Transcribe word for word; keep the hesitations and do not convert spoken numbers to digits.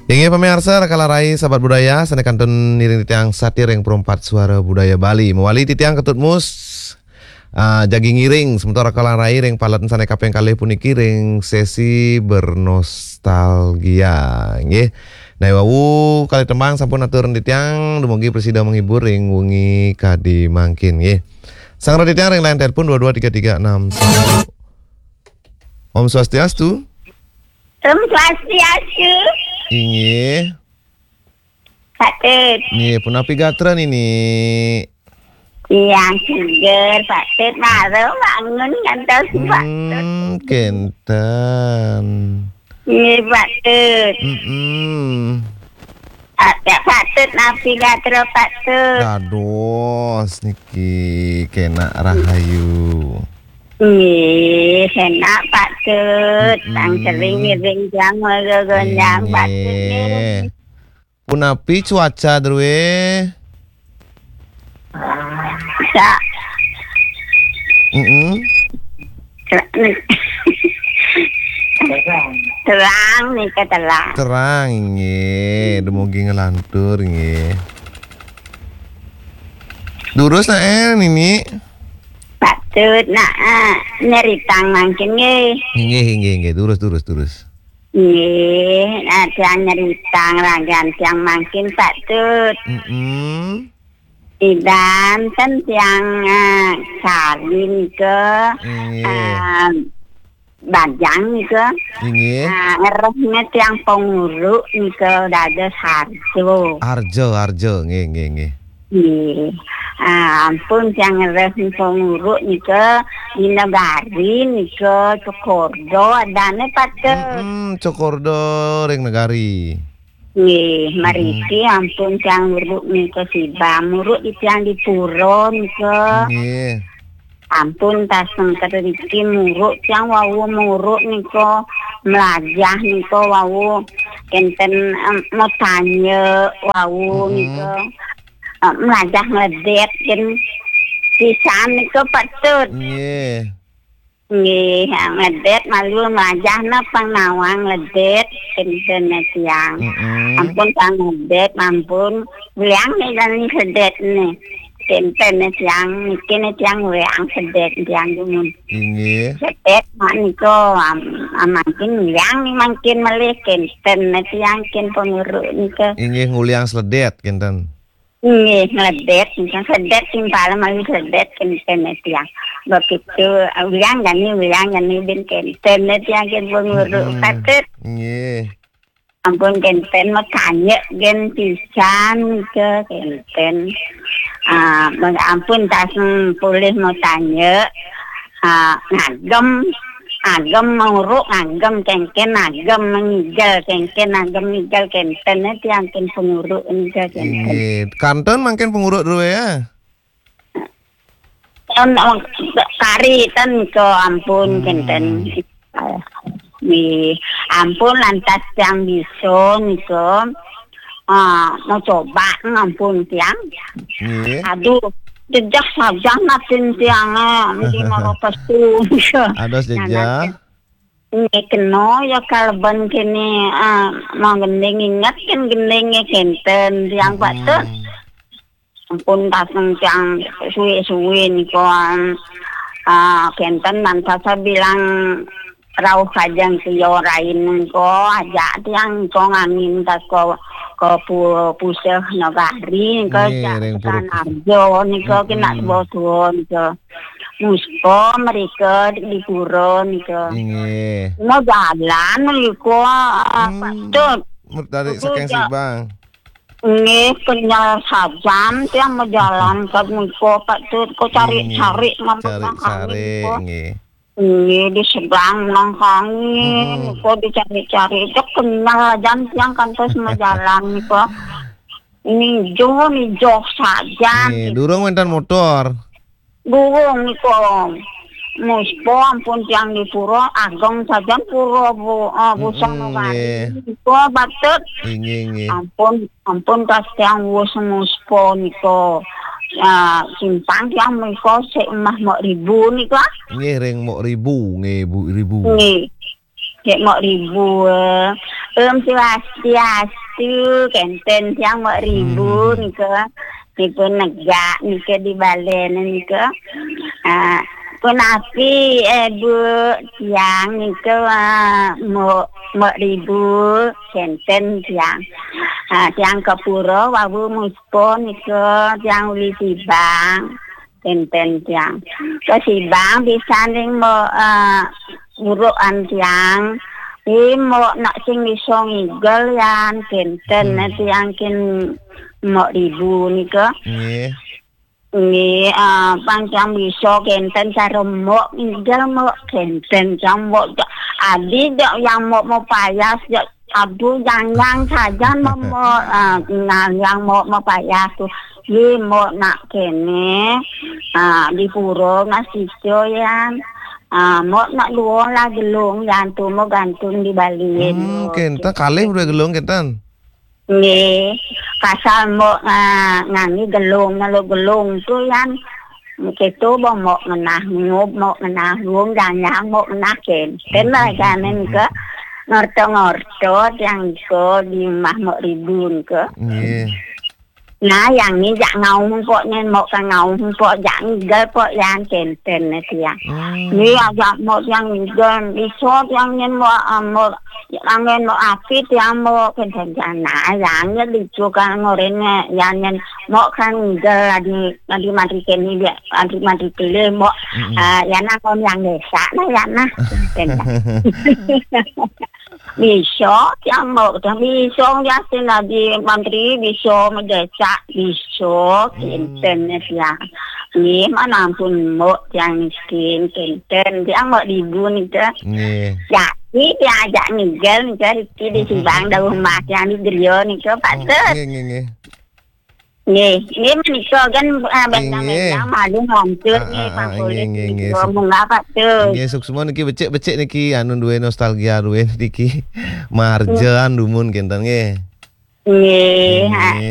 Inggih pamiarsa, Raka Larai Sahabat Budaya, sané kantun ngiring titiang satia ring Perempat Suara Budaya Bali. Mawali titiang Ketut Mus, ah, jagi ngiring semeton Raka Larai ring palet sané kaping kalih puniki ring sesi bernostalgia. Inggih. Nah, wau kalih tembang sampun atur titiang, dumugi prasida menghibur ring wengi kadi mangkin, nggih. Sang titiang ring line telepon dua dua tiga tiga enam satu. Om Swastiastu. Om Swastiastu. Inggih. Pak Tut. Nggih, punapi gatra niki? Tiang seger, Pak Tut. Mara bangun ngantos, Pak Tut. Hmm, kenten. Nggih, Pak Tut. Mm-mm. Ah, ya, Pak Tut, napi gatra, Pak Tut? Dados niki kenak rahayu. Nggih, kenak, Pak Tut. Tang Mm-mm. Sering ngiring jam gonjang, Pak Tut, nggih. Inggih. Punapi cuaca drué? Sa- Mm-mm. Terang nika, terang. Terang, nggih. Dumugi nglantur, nggih. Durus naé, nini? Pak Tut, nah, ah, nyeritang mangkin, nggih. Inggih, inggih, inggih. Durus, durus, durus. Nggih, nah, tiang nyeritang ragan tiang mangkin, Pak Tut. Mm-mm. Idan ten tiang, ah, kawin ke, Nggih. ah, bajang nika. Inggih. Ah, ngerehnya tiang penguru nika dados harjo. Harjo, harjo, nggih, nggih, nggih. Nggih. Ah, ampun tiang ngereh penguru nika di negari nika Cokordo adane, Pak Tut. Mm-mm, Cokordo ring negari. Nggih, mariki ampun tiang nguruk nika sibam. Nguruk di tiang di pura nika. Nggih. Ampun tasengker riki nguruk tiang wau nguruk nika, mlajah nika wau kenten, em, mau tanya wau nika. Em, mlajah ngledet ken pisan nika Pak Tut. Nggih. Nggih, ha, ngledet malu mlajah napa nawang ngledet kenten tiang. Mm-mm. Ampun tiang ngledet, ampun. Wiang nih dan sedetne. Kenten tiang, niki nih tiang wiang sedet tiang dumun. Inggih. Sedet mak nika, am-, am-, mangkin wiang nih mangkin malih kenten tiang ken penguru nika. Inggih, nguliang sedet kenten. Nggih, ngledet, nggih, sedet timpal mawi sedet kenten tiang. Begitu, wiang jani, wiang jani bin kenten tiang ken penguru. Mm-mm. Patut. Nggih. Ampun kenten mau tanya gen pisan ke kenten. Ah, ampun taseng pulih mau tanya. Ah, ngagem, agem menguruk, ngagem kengken, agem mengigel kengken, agem migel kenten, eh, tiang ken penguruk nika kenten. Inggih. Kantun mangkin penguruk dulu ya. Ten, oh, kari ten ke ampun kenten. Nggih, ampun lantas tiang bisa nika. Ah, mau coba ampun tiang. Nggih. Aduh, jejak saja natin tiang, eh, mesti mau pesu. Ados jejak. Nggih, kena ya kalben kene, ah, mau gending ingat kan gendingnya kenten tiang Pak Tut. Ampun taseng tiang suwe-suwe nika, ah, kenten mantas bilang rauh kajeng tiang rain nika, ajak tiang nika ngamin tas ka, ka pu-, puseh nagari nika, nggih, jak ring tekan pura. Arjo nika kena bodo nika. Muspa mereka di pura nika. Inggih. Mau jalan nika, ah, Pak Tut. Mertarik saking Sibang. Nggih, kenyal sajan tiang majalan ka nika, Pak Tut. Kok cari-cari mampet nggih. Nggih, di seberang nang kangin. Kok dicari-cari, cek kenyal jan tiang kantos majalan nika. Nijo, nijo sajan. Nggih, durung wénten motor. Durung nika. Muspa ampun tiang di pura, ageng sajan pura, Bu, ah, busana nggih. Nika, Pak Tut. Inggih, inggih. Ampun, ampun tas tiang wus muspa nika. Ah, simpang tiang nika sik emah Mok Ribu nika. Nggih, ring Mok Ribu, nggih, Bu Ribu. Nggih. Cek Mok Ribu. Om Swastiastu, kenten tiang Mok Ribu nika. Nipun negak nika di balen nika. Ah, punapi, eh, Bu, tiang nika, ah, Mok, Mok Ribu, kenten tiang. Ah, tiang ke pura wau muspon nika, tiang uli Sibang. Kenten tiang. Ke Sibang pisan ring Mok, eh, urukan tiang. Ih, Mok nak sing bisa ngigel yan. Kenten, eh, tiang kin Mok Ribu nika. Nggih. Nggih, eh, pang tiang bisa kenten cara Mok ngigel Mok. Kenten tiang Mok. Adi jak yang Mok mau payas jak Aduh, yang-yang saja Mok, Mok, ah, nah, yang Mok, Mok payah tu. Ye, Mok nak kene, ah, di pura masih yan. Ah, Mok nak dua lah gelung, yang tu Mok gantung di balik. Hmm, kenten kalih berdua gelung kenten. Nggih, pasal Mok, ah, ngangi gelung, lalu gelung tu yan. Keto bo Mok ngenah ngub, Mok ngenah rum, janyang Mok ngenah kenten lah, hmm, kanen ke. Ngorto-ngorto tiang iko di rumah Mok Ribun ke. Nggih. Nah, yang ni jak ngaung pok nyen Mok ka ngaung pok jak ngigel pok yan kenten ne tiang. Hmm. Ni ajak Mok tiang ngigel, iso tiang nyen Mok, ah, Mok, angen Mok api tiang Mok kenten tiang. Nah, yang nyen dicu ka ngoren ne, yang nyen Mok kan ngigel adi, adi mati keni biak, adi mati pilih Mok. Mm-mm. Ah, yana kon yang desa nah yana. Bisa tiang Mok, tiang bisa yasin adi mantri, bisa mendesak, bisa. Hmm. Kenten ne tiang. Nggih, mana ampun Mok tiang miskin, kenten tiang Mok Ribun ke. Nggih. Jadi tiang ajak ngigel nika riki di Sibang, dauh rumah tiang di Griya nika, Pak Tut. Nggih, nggih, nggih. Nggih, nggih menika kan, ah, bendang-bendang malu ngantur nggih, Pak Polisi. Nggih, nggih, nggih. Munggah, Pak Tut. Nggih, suksma niki becik-becik niki anu duwe nostalgia duwe niki. Marjan dumun kenten nggih. Nggih, ha.